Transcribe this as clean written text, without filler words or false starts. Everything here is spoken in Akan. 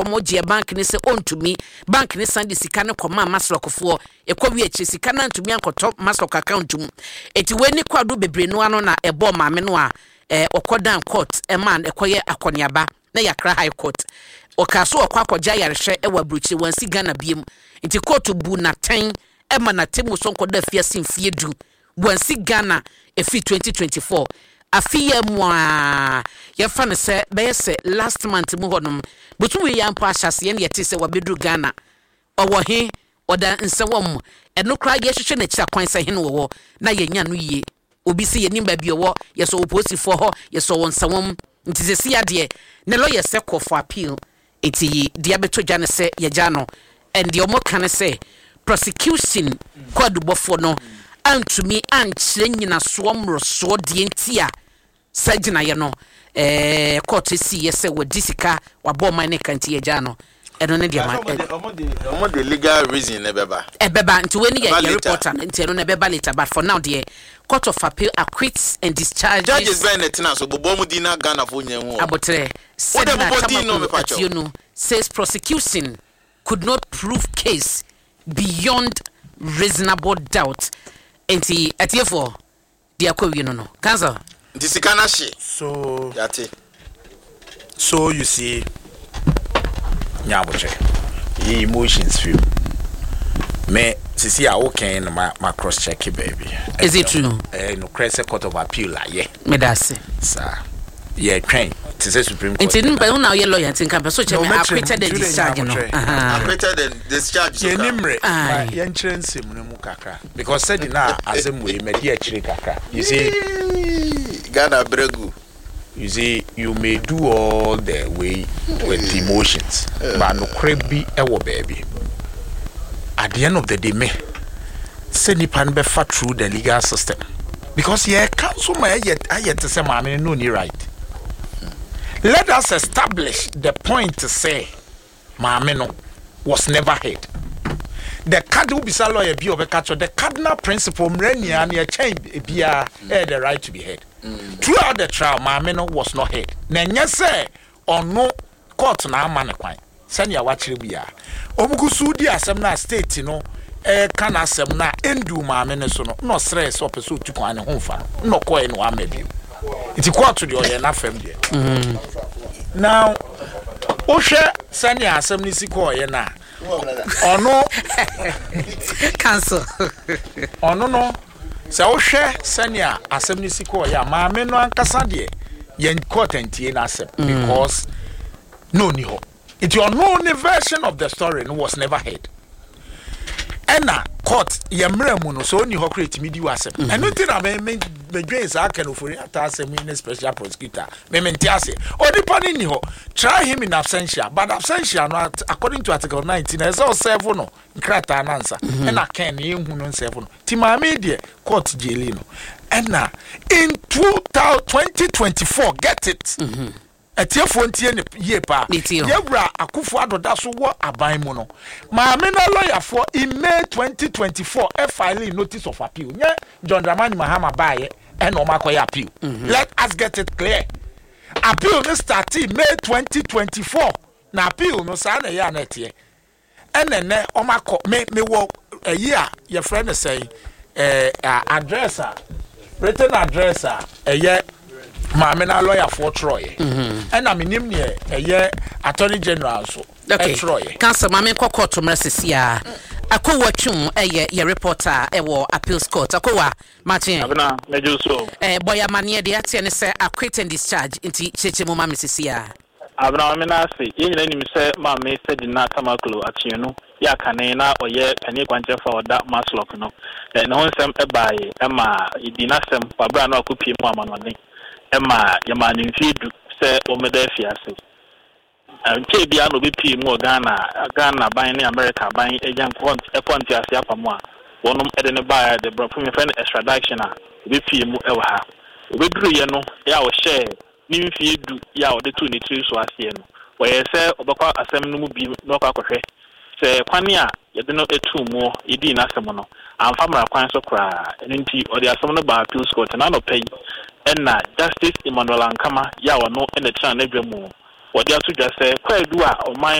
Wɔn gyeɛ bank ne sɛ ɔntumi. Bank ne san de sika no kɔmaa MASLOCfoɔ. Ɛkɔ wie akyire, sika no antumi ankɔtɔ MASLOC account mu. Eti wei ne kwado bebree no ano na ɛbɔɔ maame no a ɔkɔ dan court ɛma ɛkɔyɛ akɔneaba na yɛ Accra High Court. Ɔkaa so ɔkɔ akɔgye ayarehwɛ ɛwɔ aburokyire, wansi Ghana biem. Nti court bu n'atɛn ɛma n'atemmu so nkɔda afiase mfie 10. Wansi Ghana ɛfiri 2024 afe yɛ mu a yɛfa no sɛ bɛyɛ sɛ last month mu hɔnom botum yi yɛ mpo ahyɛseɛ ne yɛte sɛ wabɛduru Ghana. Ɔwɔ he? Ɔda nsɛwɔ mu. Ɛno koraa yɛhwehwɛ n'akyi akwan sɛ hene wɔwɔ na yɛnya no yie. Obi sɛ yɛnim baabi ɔwɔ, yɛsɔ wɔ polisifoɔ hɔ, yɛsɔ wɔ nsɛwɔm. Nti sɛ si adeɛ ne lawyer sɛ kɔ for appeal. Nti deɛ abɛtɔ dwa ne sɛ yɛgya no, and deɛ ɔmo ka ne sɛ prosecution kɔ adubɔfoɔ no antumi ankyerɛ nyinasoɔ mmorosoɔ deɛ nti a saa gyinaeɛ no court si yɛ sɛ wɔdi sika wabɔ ɔman ne ka, nti yɛgya no. Ɛno ne deɛ ma Ɔmo de legal reason ne bɛba. Ɛbɛba. Nti wei ne yɛ Ɛba yɛ later. reporter no, nti ɛno no ɛbɛba later, but for now deɛ, Court of Appeal acquits and discharges. Judges bɛn na tena so bobɔ ɔmo din na Ghana fo nyɛ hu wɔn? Abotrɛ. Wode Sedina bobɔ din no, Tamakloe mepa kyɛw. Attionu says prosecution could not prove case beyond reasonable doubt. Nti atiefoɔ, deɛ akɔ wie no, counsel. Nti sika no ahye. So yate. So you see, nyabotrɛ yi emotions fi mu me sisi a wokɛn no ma cross check baabi. Is it true? Nokorɛ sɛ Court of Appeal ayɛ. Meda ase. Saa yɛtwɛn te sɛ Supreme Court. Nti nipa wo na woyɛ lawyer, nti nka pɛ so kyerɛ me No, mɛkyerɛ mu, acquitted and nti wode discharge no. nyabotrɛ. Acquitted and discharged so yɛni ka. mmerɛ Aye. ma yɛnkyerɛ nsɛm no mu kakra because sɛde na asɛm wei madi akyire kakra, you see. Yee, Ghana bregu. You see, you may do all the way with emotions, but nokorɛ bi ɛwɔ baabi. At the end of the day, me sɛ nipa no bɛfa through the legal system because yɛka nso ma ɛyɛ ayɛ te sɛ maame no ni right. Let us establish the point sɛ maame no was never heard. The cardinal, bisa lawyer bi a ɔbɛka kyerɛ, the cardinal principle mmerɛ nia ne ɛkyɛn biara ɛyɛ the right to be heard. Throughout the trial, maame no was not heard, na ɛnyɛ sɛ ɔno court na ama ne kwan sɛnea wakyerɛ biara. Ɔmugu so di asɛm no a state no ɛka n'asɛm no a ɛndu maame no so no, na ɔsrɛ sɛ ɔpɛ sɛ ɔtu kwan ne ho mfa no, na ɔkɔɛ no wama bio. Nti court deɛ, ɔyɛ n'afɛm deɛ. Now wohwɛ sɛnea asɛm no si kɔɔyɛ no a, ɔno Counsel. Ɔno no, sɛ wohwɛ sɛnea asɛm no si kɔɔyɛ a, maame no ankasa deɛ, yɛn court ntie n'asɛm because na ɔni hɔ. Nti ɔno ne version of the story no was never heard. Ɛna court yɛ mmerɛ mu no, sɛ ɔni hɔ kora, ɛtumi di w'asɛm. Ɛno nti na me medwen saa Ken Ofori Ata asɛm yi ne special prosecutor, me mente ase. Onipa no nni hɔ, try him in absentia, but absentia no, according to article 19, ɛsɛ ɔserve no nkrataa nansa. Ɛna Ken ne yɛnhu no nserve no. Nti maame yi deɛ, court jaili no ɛna in 2024, get it, atiefoɔ ntie ne yie paa. Metie o. Yɛwura Akufo Addo da so wɔ aban mu no, maame na lɔyafoɔ in May 2024 ɛfile notice of appeal. Nyɛ John Dramani Mahama baayɛ ɛna ɔmo akɔyɛ appeal. Let us get it clear, appeal no started May 2024 na appeal no saa na ɛyɛ a na ɛteɛ. Ɛnɛ nɛ ɔmo akɔ me wɔ ɛyi a yɛfrɛ no sɛn, address a written address a ɛyɛ maame na lɔyafoɔ twerɛeɛ, ɛna menim neɛ ɛyɛ Attorney General nso ɛtwerɛeɛ. Counsel, maame nkɔ court mmerɛ sisi a Akowa Twum ɛyɛ yɛ reporter ɛwɔ appeals court. Akowa, makye. Abena, mɛgye so. Bɔyɛ amaneɛ deɛ ateɛ ne sɛ acquit and discharge, nti kyerɛkyerɛ mu ma me sisi a. Abena, maame no ase. Yɛn nyinaa nim sɛ maame Sedina Tamakloe Attionu yɛ akane na ɔyɛ panin kwankyerɛfo a ɔda MASLOC no. Ne ho nsɛm baeɛ ma yɛdii n'asɛm wɔ abere a na wakɔpie mu amanɔne ma yɛmaa no mfeɛ 10 sɛ wɔmmɛda afiase. Nkyɛn biara na obɛpie mu wɔ Ghana. Ghana aban ne America aban agya ɛkɔ ntease apam a wɔnom de ne baeɛ de borɔfo mefrɛ no extradition a obɛpie mu wɔ ha. Obɛduruyɛ no yɛ a ɔhyɛɛ ne mfeɛ 10 yɛ a ɔde too ne tiri so aseɛ no, wɔyɛ sɛ ɔbɛkɔ asɛm no mu bi na ɔkɔ akɔhwɛ sɛ kwan a yɛde no too mu yɛdii n'asɛm no amfa mmara kwan so koraa. Ɛno nti ɔde asɛm no baa appeals court. Na anɔpa yi ɛna Justice Emmanuel Ankama yɛ a ɔno ɛna tena n'adwa mu wɔde ato dwa sɛ kwaadu a ɔman no